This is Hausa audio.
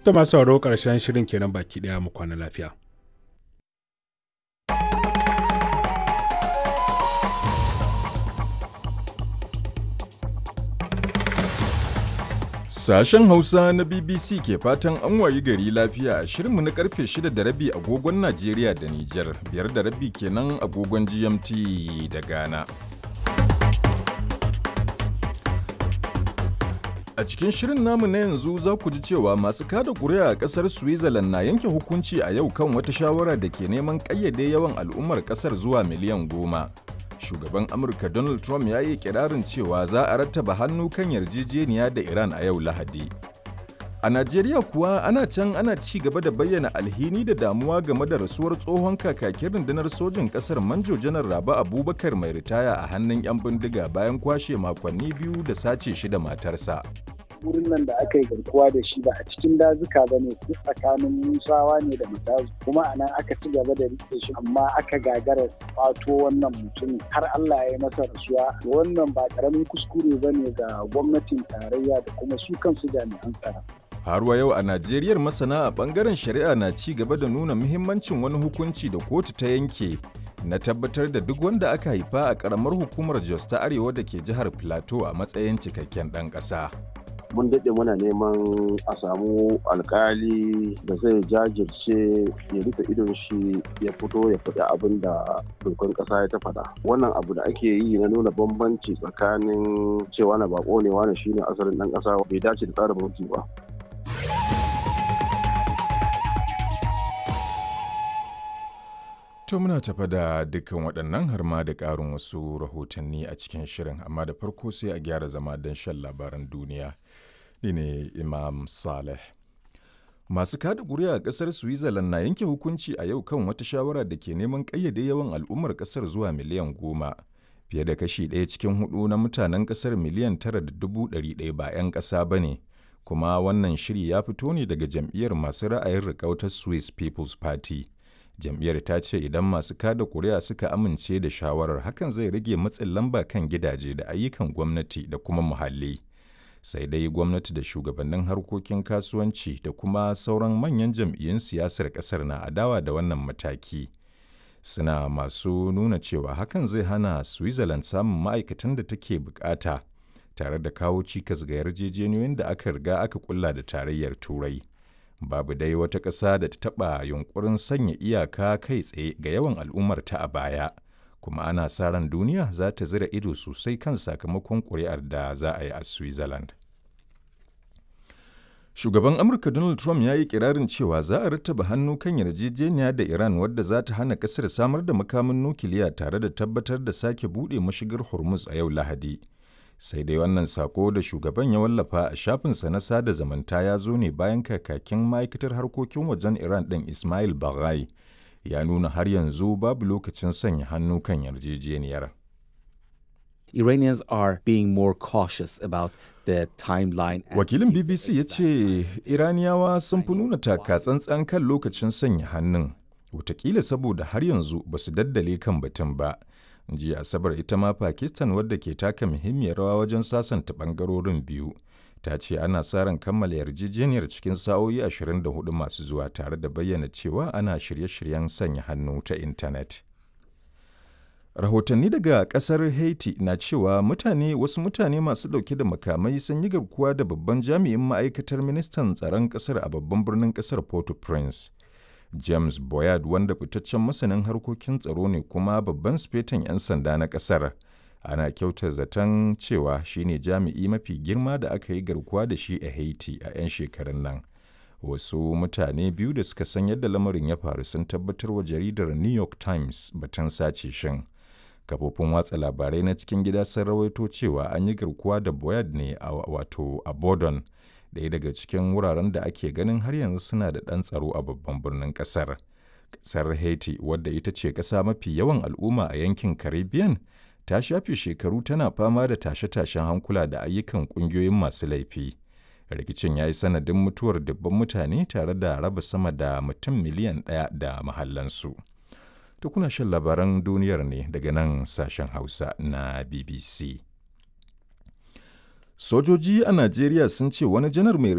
Ta masu sauraro ƙarshen shirin kenan baki ɗaya mu kwana lafiya. Sashen Hausa na BBC ke fatan an wayi gari lafiya a shirinmu na karfe 6 da rabi agogon Najeriya da Nijar, 5 da rabi kenan agogon GMT da Ghana. A cikin shirin namu na yanzu za ku ji cewa masu kada kuri'a a ƙasar Switzerland na yanke hukunci a yau kan wata shawara da ke neman ƙayyade yawan al'ummar ƙasar zuwa miliyan 10. Shugaban Amurka Donald Trump ya yi kirarin cewa za a rattaba hannu kan yarjejeniya da Iran a yau Lahadi. A Najeriya kuwa ana can ana ci gaba da bayyana alhini da damuwa game da rasuwar tsohon kakakin rundunar sojin kasar Manjo Janar Rabe Abubakar mai ritaya a hannun 'yan bindiga bayan kwashe makonni 2 da sace shi da matarsa. Wurin nan da aka yi garkuwa da shi ba a cikin dazuka ba ne, tsakanin Musawa ne da Matazu, kuma a nan aka ci gaba da rike shi, amma aka gagara kwato wannan mutumin har Allah ya yi masa rasuwa. Wannan ba karamin kuskure ba ne ga gwamnatin tarayya da kuma su kansu jami'an tsaro. Har wa yau a Najeriyar masana a bangaren shari'a na ci gaba da nuna muhimmancin wani hukunci da kotu ta yanke na tabbatar da duk wanda aka haifa a karamar hukumar Jos ta Arewa da ke jihar Plateau a matsayin cikakken ɗan ƙasa. Mun daɗe muna neman a samu alkali da zai jajirce ya rufe idon shi ya fito ya faɗi abin da dokar ƙasa ya ta faɗa. Wannan abu da ake yi na nuna bambanci tsakanin cewa na bako ne, wani shine asalin ɗan ƙasa, bai dace da tsarin mulki ba. To muna tafa da dukkan waɗannan har ma da ƙarin wasu rahotanni a cikin shirin, amma da farko sai a gyara zama don shan labaran duniya. Ni ne Imam Saleh. Masu kada ƙuri'a a ƙasar Switzerland na yanke hukunci a yau kan wata shawara da ke neman ƙayyade yawan al'ummar ƙasar zuwa miliyan 10. Fiye da kashi ɗaya cikin hudu na mutanen ƙasar 9.1 miliyan ba 'yan ƙasa ba ne, kuma wannan shiri ya fito ne daga jam'iyyar masu ra'ayin riƙau ta Swiss People's Party. Jam'iyyar ta ce idan masu kada kuri'a suka amince da shawarar, hakan zai rage matsin lamba kan gidaje da ayyukan gwamnati da kuma muhalli. Sai dai gwamnati da shugabannin harkokin kasuwanci da kuma sauran manyan jam'iyyun siyasar kasar na adawa da wannan mataki, suna masu nuna cewa hakan zai hana Switzerland samun ma'aikatan da take bukata tare da kawo cikas ga yarjejeniyoyin da aka riga aka kulla da Tarayyar Turai. Babu dai wata ƙasa da ta taɓa yunkurin sanya iyaka kai tsaye ga yawan al'ummarta a baya, kuma ana sa ran duniya za ta zira ido sosai kan sakamakon ƙuri'ar da za a yi a Switzerland. Shugaban Amurka Donald Trump ya yi kirarin cewa za a rattaba hannu kan yarjejeniya da Iran wadda za ta hana ƙasar samar da makamin nukiliya tare da tabbatar da sake buɗe mashigar Hormuz a yau Lahadi. Sai dai wannan sako da shugaban ya wallafa a shafinsa na sada zumunta ya zo ne bayan kakakin ma'aikatar harkokin wajen Iran ɗin Ismail Baghai ya nuna har yanzu babu lokacin sanya hannu kan yarjejeniyar. Iranians are being more cautious about the timeline. Wakilin BBC ya ce Iraniyawa sun fi nuna taka tsantsan kan lokacin sanya hannun, watakila saboda har yanzu ba su daddale kan batun ba. Jiya Asabar ita ma Pakistan, wadda ke taka muhimmiyar rawa wajen sasanta bangarorin biyu, ta ce ana sa ran kammala yarjejeniyar cikin sa'o'i 24 masu zuwa, tare da bayyana cewa ana shirye-shiryen sanya hannu ta intanet. Rahotanni daga kasar Haiti na cewa wasu mutane masu dauke da makamai sun yi garkuwa da babban jami'in ma'aikatar ministan tsaron kasar a babban birnin kasar Port-au-Prince. James Boyard, wanda fitaccen masanin harkokin tsaro ne kuma babban sifetan 'yan sanda na ƙasar, ana kyautar zaton cewa shine jami'i mafi girma da aka yi garkuwa da shi a Haiti a 'yan shekarun nan. Wasu mutane biyu da suka san yadda lamarin ya faru sun tabbatar wa jaridar New York Times batun sace shin. Kafofin watsa labarai na cikin gida sun rawaito cewa an yi garkuwa da Boyard ne a wato a Bordon, ɗaya daga cikin wuraren da ake ganin har yanzu suna da ɗan tsaro a babban birnin ƙasar. Ƙasar Haiti, wadda ita ce ƙasa mafi yawan al'umma a yankin Caribbean, ta shafe shekaru tana fama da tashe-tashen hankula da ayyukan ƙungiyoyin masu laifi. Rikicin ya yi sanadin mutuwar dubban mutane tare da raba sama da mutum miliyan 1 da mahallansu. To kuna shan labaran duniyar ne daga nan sashen Hausa na BBC. Sojoji a Najeriya sun ce wani janar mai